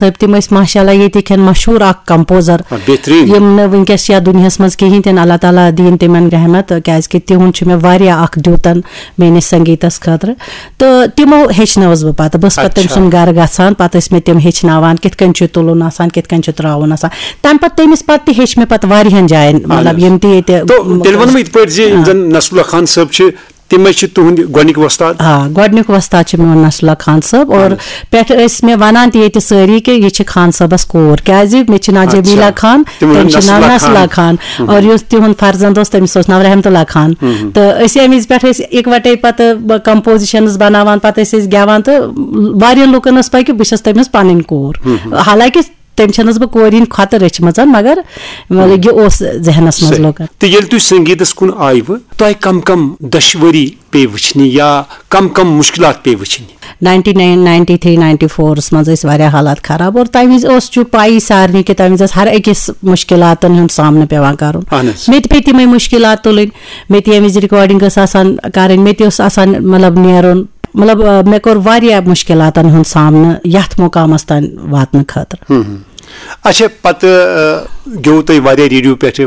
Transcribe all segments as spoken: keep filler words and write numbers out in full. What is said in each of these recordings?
صٲب، تِم ٲسۍ ماشاء اللہ ییٚتِکۍ مشہوٗر اکھ کمپوزر، آ، بہتریٖن۔ یِم نہٕ وٕنکیٚس چھِ یَتھ دُنیاہَس منٛز کِہیٖنۍ تہِ نہٕ۔ اللہ تعالیٰ دِیِن تِمن رحمت، کیازِ کہِ تِہُنٛد چھُ مےٚ واریاہ اکھ دیُتن میٲنِس سنگیٖتس خٲطرٕ۔ تہٕ تِمو ہیٚچھنٲوٕس بہٕ پتہٕ۔ بہٕ ٲسٕس پتہٕ تٔمۍ اچھا۔ سُنٛد گرٕ گژھان، پتہٕ ٲسۍ مےٚ تِم ہیٚچھناوان کِتھ کٔنۍ چھُ تُلُن آسان، کِتھ کٔنۍ چھُ تراوُن آسان۔ تَمہِ پتہٕ تٔمِس پتہٕ تہِ ہیٚچھ مےٚ پتہٕ واریاہن جاین، مطلب، یِم تہِ ییٚتہِ تو تیٚلہِ وَنہٕ بہٕ یِتھ پٲٹھۍ زِ یِم زَن نصراللہ خان صٲب چھِ، تِمے چھِ تُہٕنٛدۍ گۄڈٕنِکۍ وۄستاد۔ آ، گۄڈٕنیُک وۄستاد چھُ میون نصراللہ خان صٲب، اور پٮ۪ٹھٕ ٲسۍ مےٚ وَنان تہِ ییٚتہِ سٲری کہِ یہِ چھِ خان صٲبَس کوٗر، کیٛازِ مےٚ چھِ ناو اچھا۔ جمیٖلا خان، تِمَن تٔمِس چھِ ناو نصراللہ نصراللہ خان۔ خان۔ اور یُس تِہُنٛد فرزند اوس، تٔمِس اوس ناو رحمتُ اللہ خان۔ تہٕ أسۍ اَمہِ وِزِ پٮ۪ٹھ ٲسۍ اِکوَٹَے پَتہٕ کمپوزِشَنٕز بَناوان، پَتہٕ ٲسۍ أسۍ گٮ۪وان، تہٕ واریاہَن لُکَن ٲس پَے کہِ بہٕ چھَس تٔمِس پَنٕنۍ کوٗر۔ حالانکہِ تٔمۍ چھَنَس بہٕ کورِ ہِنٛدۍ کھۄتہٕ رٔچھمٕژ، مگر مطلب یہِ اوس ذہنَس منٛز صحیح۔ لُکَن۔ تہٕ ییٚلہِ تُہۍ سنگیٖتَس کُن آیوٕ، تۄہہِ کم کم دۄشوٕری پیٚیہِ وٕچھنہِ یا کم کم مُشکلات پیٚیہِ وٕچھنہِ؟ Ninety nine, ninety three, ninety force منٛز ٲسۍ واریاہ حالات خراب، اور تَمہِ وِزِ اوس چھُ پَیی سارنٕے کہِ تَمہِ وِزِ ٲس ہر أکِس مُشکِلاتَن ہُنٛد سامنہٕ پٮ۪وان کَرُن۔ اہن حظ۔ مےٚ تہِ پیٚیہِ تِمَے مُشکِلات تُلٕنۍ، مےٚ تہِ ییٚمہِ وِزِ رِکارڈِنٛگ ٲس آسان کَرٕنۍ، مےٚ تہِ اوس آسان مطلب نیرُن، مطلب، آ، مےٚ کوٚر واریاہ مُشکِلاتَن ہُنٛد سامنہٕ یَتھ مُقامَس تام واتنہٕ خٲطرٕ۔ اچھا، پتہٕ آ، گیوٚو تۄہہِ واریاہ ریڈیو پٮ۪ٹھ،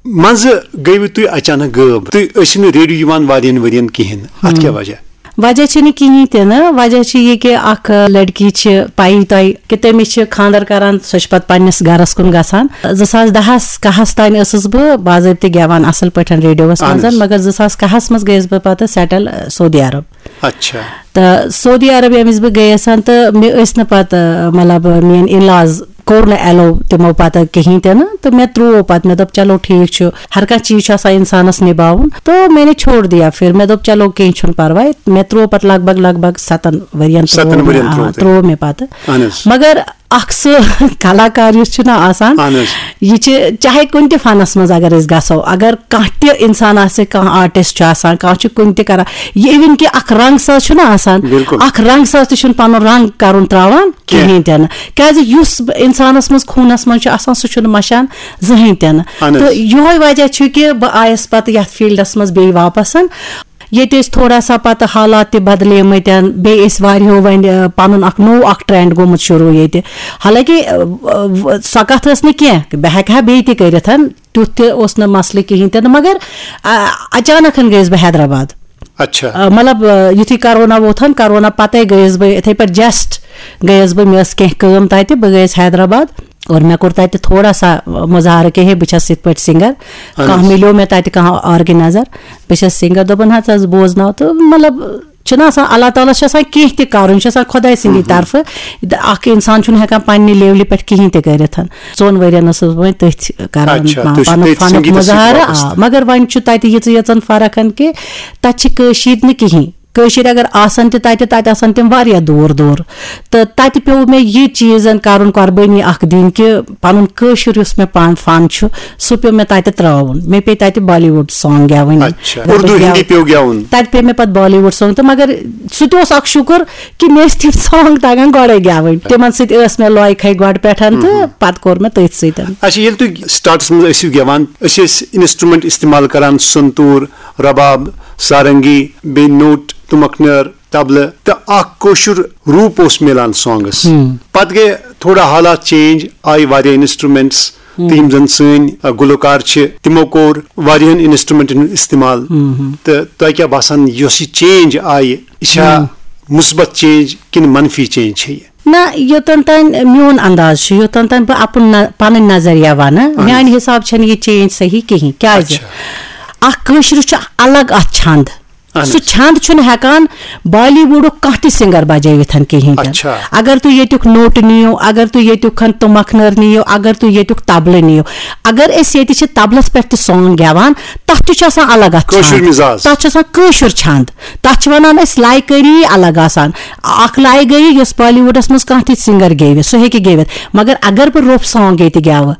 منٛزٕ گٔیوٕ تُہۍ اچانک غٲب، تُہۍ ٲسِو نہٕ ریڈیو یِوان واریاہن ؤرین کِہیٖنۍ، اتھ کیٛاہ وجہ؟ وجہ چھُنہٕ کِہیٖنۍ تہِ نہٕ، وجہ چھُ یہِ کہِ اکھ لڑکی چھِ پَیی تۄہہِ کہِ تٔمِس چھِ خانٛدر کران، سۄ چھِ پتہٕ پننِس گرس کُن گژھان۔ زٕ ساس دَہَس کَہَس تام ٲسٕس بہٕ باضٲبطہٕ گٮ۪وان اَصٕل پٲٹھۍ ریڈیووَس اہن منٛز، حظ۔ مگر زٕ ساس کَہَس منٛز گٔیَس بہٕ پتہٕ سیٹل سعودی عرب۔ اچھا۔ تہٕ سعودی عرب ییٚمہِ وِزِ بہٕ گٔیَس ہن، تہٕ مےٚ ٲسۍ نہٕ پَتہٕ، مطلب، میٲنۍ in-laws کوٚر نہٕ ایلو تِمو پَتہٕ کِہیٖنۍ تہِ نہٕ، تہٕ مےٚ ترٛوو پَتہٕ، مےٚ دوٚپ، "چلو، ٹھیٖک چھُ، ہر کانٛہہ چیٖز چھُ آسان اِنسانَس نِباوُن"، تو میں نے چھوڑ دیا پھر۔ مےٚ دوٚپ، "چلو، کینٛہہ چھُنہٕ پَرواے"۔ مےٚ ترٛوو پَتہٕ لگ بگ، لگ بگ سَتَن ؤرین ستن ترٛوو مےٚ، ؤرین آ، ترٛوو تۄہہِ۔ ترٛوو مےٚ پَتہٕ۔ اہن حظ۔ مگر اکھ سُہ کلاکار یُس چھُنہ آسان، اہن حظ۔ یہِ چھِ چاہے کُنہِ تہِ فنس منٛز اگر أسۍ گژھو، اگر کانٛہہ تہِ انسان آسہِ، کانٛہہ آرٹسٹ چھُ آسان، کانٛہہ چھُ کُنہِ تہِ کران، یہِ اِوٕن کہِ اکھ رنگ ساز چھُنہ آسان، بِلکُل۔ اکھ رنگ ساز تہِ چھُنہٕ پنُن رنگ کرُن تراوان کینٛہہ۔ کِہینۍ تہِ نہٕ، کیازِ یُس انسانس منٛز، خوٗنس منٛز چھُ آسان، سُہ چھُنہٕ مشان زٕہٕنۍ تہِ نہٕ۔ اہن حظ۔ تہٕ یِہوے وجہ چھُ کہِ بہٕ آیس پتہٕ یتھ فیلڈس منٛز بیٚیہِ واپس۔ ییٚتہِ ٲسۍ تھوڑا سا پتہٕ حالات تہِ بدلیمٕتۍ، بیٚیہِ ٲسۍ واریاہو وۄنۍ، آ، پنُن اکھ نوٚو اکھ ٹرینڈ گوٚمُت شروع ییٚتہِ۔ حالانکہِ، آ، آ، سۄ کتھ ٲس نہٕ کینٛہہ، بہٕ ہیٚکہٕ ہا بیٚیہِ تہِ کٔرِتھ، تیُتھ تہِ اوس نہٕ مسلہٕ کِہینۍ تہِ نہٕ، مگر، آ، اچانک گٔیَس بہٕ حیدرآباد۔ اچھا۔ آ، مطلب، آ، یُتھُے کرونا ووتھن، کرونا پتے گٔیَس بہٕ یِتھے پٲٹھۍ just گٔیَس بہٕ، مےٚ ٲس کینٛہہ کٲم تتہِ، بہٕ گٔیَس حیدرآباد۔ اور مےٚ کوٚر تَتہِ تھوڑا سا مظاہرٕ کہِ ہے، بہٕ چھَس یِتھ پٲٹھۍ سِنٛگر، اہن کانٛہہ حظ۔ مِلیو مےٚ تَتہِ کانٛہہ آرگنایزر، بہٕ چھَس سِنٛگر، دوٚپُن، "ہَتہٕ حظ بوزناو"۔ تہٕ مطلب، چھُنہ آسان، اللہ تعالیٰ چھُ آسان کینٛہہ تہِ کَرُن، چھُ آسان خۄداے سٕنٛدی طرفہٕ۔ اکھ اِنسان چھُنہٕ ہٮ۪کان پننہِ لیولہِ پٮ۪ٹھ کِہیٖنۍ تہِ کٔرِتھ۔ ژۄن ؤرین ٲسٕس بہٕ وۄنۍ تٔتھۍ کران، اچھا، تُہۍ چھِو پنُن تٔتھۍ فنُک سنگیٖتس سۭتۍ مظاہرٕ، وابستہٕ۔ آ، مگر وۄنۍ چھُ تَتہِ یِژٕ یٲژَن فرق کہِ تَتہِ چھِ کٲشِر نہٕ کِہیٖنۍ۔ کٲشِر اگر آسن تہِ تَتہِ، تَتہِ آسن تِم واریاہ دوٗر دوٗر۔ تہٕ تَتہِ پیوٚو مےٚ یہِ چیٖزن کَرُن، قۄربٲنی اَکھ دِنۍ کہِ پَنُن کٲشُر یُس مےٚ پان فن چھُ، سُہ پیوٚو مےٚ تَتہِ ترٛاوُن۔ مےٚ پیٚیہِ تَتہِ بالی وُڈ سانگ گٮ۪وٕنۍ۔ اچھا، اردو، ہندی پیوٚو گٮ۪وُن؟ تَتہِ پیٚیہِ مےٚ پَتہٕ بالی وُڈ سانگ تہٕ، مگر سُہ تہِ اوس اَکھ شُکُر کہِ مےٚ ٲسۍ تِم سانگ تَگان گۄڈَے گٮ۪وٕنۍ۔ تِمن سۭتۍ ٲس مےٚ لوے کھے گۄڈٕ پٮ۪ٹھ تہٕ پَتہٕ کوٚر مےٚ تٔتھۍ سۭتۍ۔ اچھا، ییٚلہِ تُہۍ startس منٛز ٲسِو گٮ۪وان، أسۍ ٲسۍ instrument استعمال کران، سنتوٗر، رباب، سارنگی، بیٚیہِ نوٹ، تُمکھ نٲر، طبلہٕ تہٕ اکھ کٲشُر روٗپ اوس میلان سانگس۔ پتہٕ گٔے تھوڑا حالات چینج، آیہِ واریاہ انسٹرومینٹس تہٕ یِم زن سٲنۍ، آ، گلوکار چھِ، تِمو کوٚر واریاہن انسٹرومینٹن ہُنٛد استعمال۔ تہٕ تۄہہِ کیٛاہ باسان، یۄس یہِ چینج آیہِ، یہِ چھا مثبت چینج کِنہٕ منفی چینج چھےٚ یہِ؟ نہ، یوٚتن تام میون انداز چھُ، یوٚتن تام بہٕ اپُن نہ-، پنٕنۍ نظریہ ونہٕ، اہن حظ۔ میانہِ حساب چھنہٕ یہِ چینج صحیح کِہینۍ۔ کیازِ؟ اچھا۔ اکھ کٲشرِس چھُ الگ اتھ چھند۔ اہن سُہ حظ۔ چھند چھُنہٕ ہٮ۪کان بالی وُڈُک کانٛہہ تہِ سِنگر بجٲوِتھ کِہینۍ تہِ۔ اچھا۔ اگر تُہۍ ییٚتیُک نوٹہٕ نِیِو، اگر تُہۍ ییٚتیُک کھن تُمکھ نٲر نِیِو، اگر تُہۍ ییٚتیُک طبلہٕ نِیِو، اگر أسۍ ییٚتہِ چھِ طبلس پٮ۪ٹھ تہِ سانگ گٮ۪وان، تتھ تہِ چھُ آسان الگ اتھ کٲشُر چھند۔ مزاج۔ تتھ چھُ آسان کٲشُر چھند۔ تتھ چھِ ونان أسۍ لایکٲری الگ آسان۔ اکھ لایکٲری یۄس بالی وُڈس منٛز کانٛہہ تہِ سِنگر گیٚوِ، سُہ ہیٚکہِ گیٚوِتھ۔ مگر اگر بہٕ روٚف سانگ ییٚتہِ گٮ۪وٕ،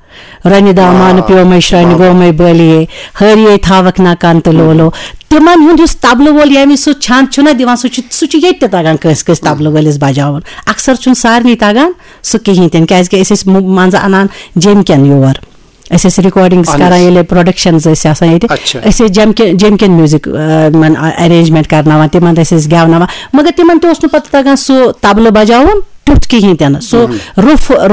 رنہِ دامان واہ، پیومے شرنہِ واہ۔ گومے بٲلیے، ہٲریے تھاوکھ نہ کن تہٕ لولو۔ تِمن ہُنٛد یُس طبلہٕ وول ییٚمہِ سُہ چھند چھُنہ دِوان، سُہ چھُ، سُہ چھُ ییٚتہِ تہِ تگان کٲنٛسہِ کٲنٛسہِ طبلہٕ وٲلِس بجاوُن۔ اکثر چھُنہٕ سارنٕے تگان سُہ کِہینۍ تہِ نہٕ، کیازِ کہِ أسۍ ٲسۍ مُ-، منٛزٕ انان جیٚمۍ کٮ۪ن یور۔ أسۍ ٲسۍ ریکارڈنگس اہن کران حظ۔ ییٚلہِ پروڈکشنز ٲسۍ آسان ییٚتہِ، اچھا۔ أسۍ ٲسۍ جیٚمۍ کہِ-، جیٚمۍ کٮ۪ن میوزک، آ، یِمن، آ، ارینجمنٹ کرناوان، تِمن ٲسۍ أسۍ گٮ۪وناوان، مگر تِمن تہِ اوس نہٕ پتہٕ تگان سُہ طبلہٕ بجاوُن۔ تیُتھ کِہیٖنۍ تہِ نہٕ، سُہ روٚف